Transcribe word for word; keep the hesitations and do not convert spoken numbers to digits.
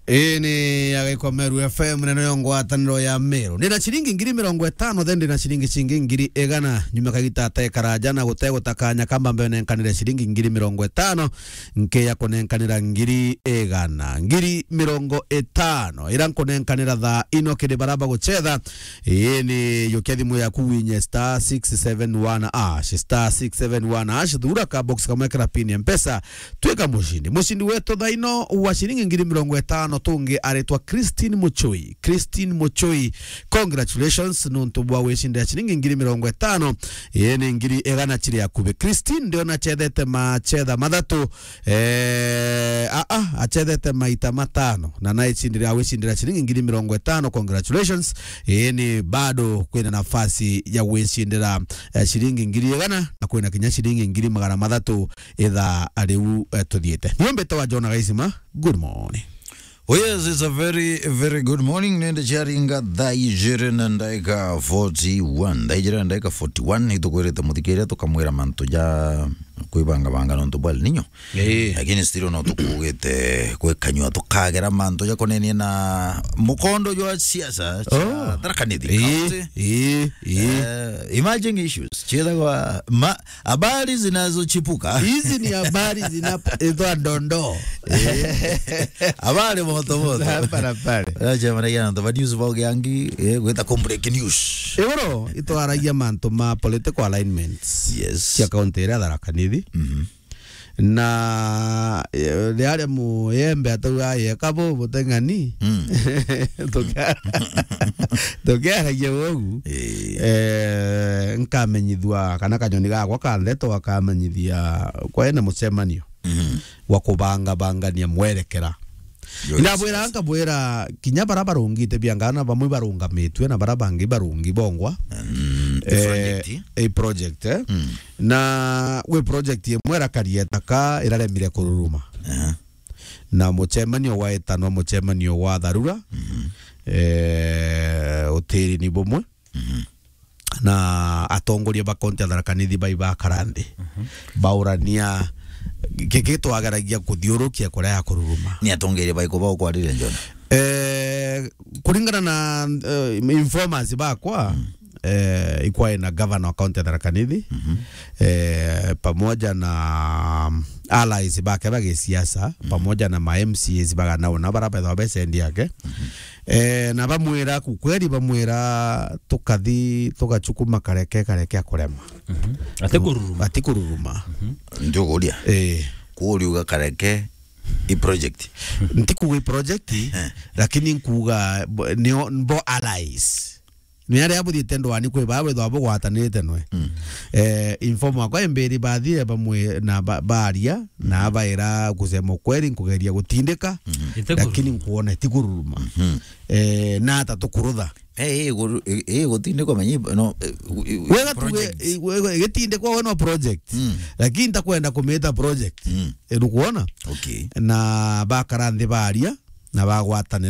Ii ni ya Gaiko Meru F M, neno yo ngwataniro ya Meru. Ndina ciringi ngiri mirongo itano, then ndina ciringi cingi ngiri igana. Nyuma kagita atekaraja na gutegutakanya kamba mbenenkanire ciringi ngiri mirongo itano, nkeya kunenkanira ngiri igana. Ngiri mirongo itano, ira nkunenkanira thaa ino kiri bara bagucetha. Ii ni yukia thimu yaku winye star six seven one hash, star six seven one hash, thura ka box kamwe kira pin ya Mpesa, twika mucindi. Mucindi wetu thaa ino wa ciringi ngiri mirongo itano tungi aritwa Christine Muchui. Christine Muchui, congratulations nontu bwa wicindira ciringi ngiri mirongo itano. Ii ni ngiri igana ciri akubi. Christine ndiona acethete macetha mathatu, eh, a, a, acethete maita matano na naicindira, awicindira ciringi ngiri mirongo itano. Congratulations. Ii ni bado kwina nafasi ya gwicindira, eh, ciringi ngiri igana na kwina kinya ciringi ngiri magana mathatu ithaa riu, eh, tuthiite. Nio mbitawa John Gaisima. Good morning. Oh yes, it's a very, very good morning. Nende ciaringa thaa ijiri na ndaika forty-one. Thaa ijiri na ndaika forty-one, itukwirite muthikiria tukamwira mantu ja kwibangabanga nontu bwa El Nino. Ii. Lakini still no tukugite gwikanyua tukagera mantu ja kunenia na mukondo jwa siasa cia Oh. Tharaka Nithi Ii, County. Ii, ii. Eh, emerging issues. Ciethagwa ma-, habari zinazochipuka. Hizi ni habari zinapo-, itwa ndondo. Eh. Habari moto moto. Za hapa na pale. Acha maragia na news bau giangi, eh, gwita ku break news. Iguru itwaragia mantu ma political alignments. Yes. Cia kaunti iria Tharaka Nithi. Mhm. Na, eh, riaria muyembe atauga yeka bu buteng'ani. Mm. Tukia-, tukiaragia ugu. Eh. Eh, nkamenyithua kana kanyoni gakwa ka ndeto akamenyithia kwena mucemanio Mhm. wa kubangabangania mwerekera. Yo, ndabwira, yes, nkabwira kinya bara barungite biangana, bamwe barungamitue na bara bangi barungi bongwa. Mm, eh, project. I project, eh. Mm. Na gwi project imwe irakaria itaka iraremire kururuma. Aha. Na mucemanio gwaetanwa mucemanio gwa tharura, Mhm. eh, utiri ni bumwe. Mhm. Na atongoria ba kaunti ya Tharaka Nithi bai bakara nthi, Mhm. baurania ki-, ki twageragia kuthiurukia kuria ya kururuma. Ni atongeria baiku bau kwarire, John? Eh, kuringana na, eh, informers bakwa, Mm. eh, ikwae na governor wa kaunti ya Tharaka Nithi, Mhm. eh, pamoja na, um, allies bake ba gisiasa, Mhm. pamoja na ma M C As bagana ona bara bethwa besendi yake. Mhm. Eh, na bamwira kukweri, bamwira tukathi tugachukuma kareke, kareke akurema. Mhm. Ati kururuma. Ati kururuma. Mhm. Ndio kuria. Eh. Kuria uga kareke i project. Nti kuga i project, Eh. lakini nkuga bo-, nio, bo allies. Ni aria buthiite ndwani kwi baa bwithwa bugwatanite nwe. Mm. Eh, inform wakwa imbiri bathire bamwe na ba-, baria, na baira kusema ukweri nkugeria gutindika, Mhm. Ite lakini kururuma. Nkuona iti kururuma. Mhm. Eh, na ata tukurutha. Eh, eh, guru-, eh, eh, gutindikwa menyi, no, eh, u-, u-, Wega tuge, projects. Eh, wega, gitindikwa we no project. Mm. Lakini ntakwenda kumita project. Mm. Eh, nukuona? Okay. Na bakara nthi baria, na bagwatanira.